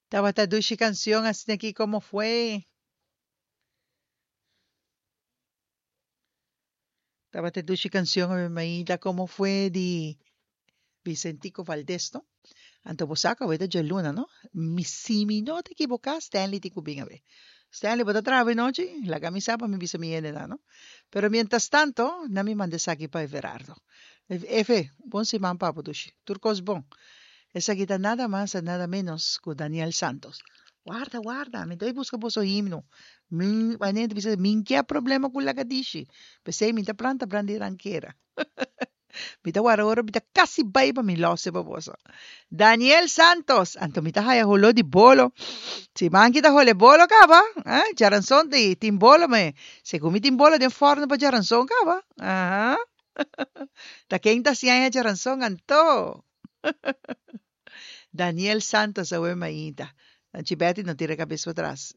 Tabata dushi cancion asina aki como fue. Tabata dushi cancion awe mainta como fue di Vicentico Valdez no. Anto bo sa cu awe ta djaluna no. Mi si mi no ta ekiboca Stanley tin cu bin awe. Stanley bo ta traha awe nochi? Laga mi sa pa mi bisa mi hendenan no. Pero mientras tanto nan mi manda esaki pa Everardo. Efe, bon siman pa bo dushi. Tur cos bon. Esaki ta nada mas en nada menos cu Daniel Santos. Warda, warda, mi ta bay busca boso himno. Mi, wanneer ta bisa, mi n'kia problema cu lagadishi. P'esey mi ta planta brandi rankera. Mi ta warda ora mi ta casi bay pa mi lose pa boso. Daniel Santos, anto mi ta haya holo di bolo. Siman ki ta hole bolo caba, eh? Djaranson tin bolo me. Segun mi tin bolo den forno pa djaranson caba. Aha. Ta ken ta siña djaranson anto? Daniel Santos awe mainta. Nanchi Betty no tira cabes patras.